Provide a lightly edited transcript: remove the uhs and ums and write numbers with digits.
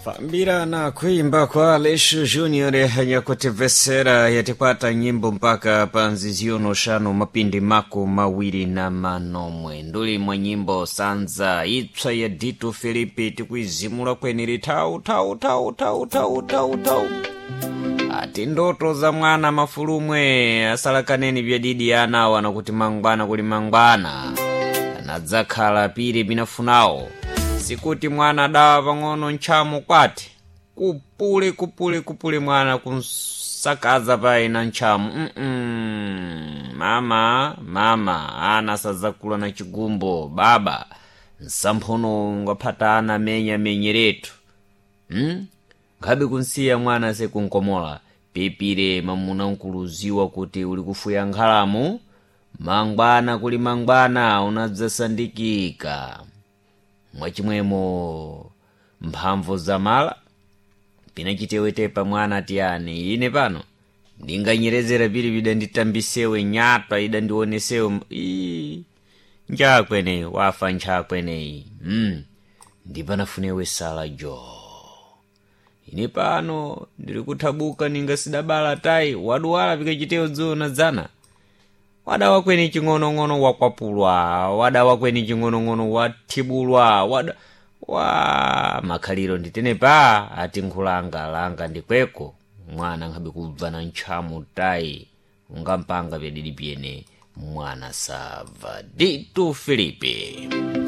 Fambira na kuimba kwa Leshu Junior yakutivesera yatikwata nyimbo mpaka panziziono shanu mapindi mako mawiri na manomwe nduli mwa nyimbo sanza itswa ya Dito Filipi tikuizimula kweneri tau tau tau tau tau tau tau ati ndoto za mwana mafulumwe asalakaneni vyadidi anawo anakuti mangwana kuli mangwana anadzakhala piri pinafunawo sikuti mwana dawa pang'ono ntchamo kwati kupule kupule kupule mwana kunsakaza paina ntchamo Mama mama ana sadzakula na chigumbo baba nsamphono ungaphata ana menya menyeretu Nkhabe kunsiya mwana sekunkomola pipire mamuna nkuluziwa kuti uli kufuya nkhalamu mangwana kuli mangwana unadzasandikika mwachimwemo mphamvu zamala pinachitewetepa mwana tiyani ine pano ndinganyerezera pili pidanditambisewe nyatwa idandionesewe ii njakweneyi wafa nchakweneyi Ndipanafunewe sala jo ine pano ndili kuthabuka ninga sidabala tayi waduwala pikachitewo dzulo dzana wadawa kweni ching'onong'ono wakwapulwa wadawa kweni ching'onong'ono wathibulwa wada wa makhaliro nditene pa ati nkhulanga langa ndikweko mwana nkhabe kubva na ntchamo tayi ungampanga pyadidi pyene mwana sabva Dito Filipe.